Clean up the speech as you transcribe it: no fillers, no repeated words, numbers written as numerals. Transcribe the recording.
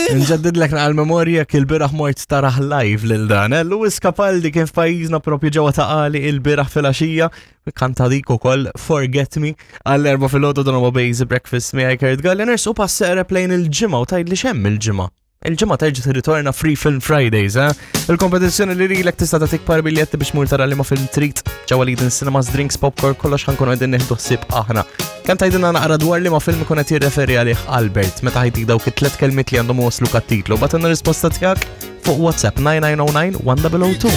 Nġeddidlek naqal memorja il-bieraħ mort taraħ live lil dan. Eh? Lewis Capaldi kien f'pajjiżna propju ġewwa ta' qali il-bieraħ filgħaxija kanta dik ukoll Forget Me għall-erba' filgħodu dan huwa Basic Breakfast miegħi Kurt Galliners u pass eqreb lejn il-ġimgħa u tgħidli x'hemm il-ġimgħa. Il-ġimgħa terġa' tirritorna Free Film Fridays, eh? Il-kompetizzjoni li lilek tista' tagħtik par biljetti biex mur tara li ma film trid ġewwa Leading Cinemas, drinks, popcorn, kollox ħankunu qegħdin nieħdu ħsieb aħna. Kemm tgħidilna naqra dwar li ma film ikun qed jirreferi għalih Albert meta ħajtik dawk it-tlet kelmiet li għandhom waslu kat-titlu. Batenna risposta tiegħek fuq WhatsApp 9909 1002.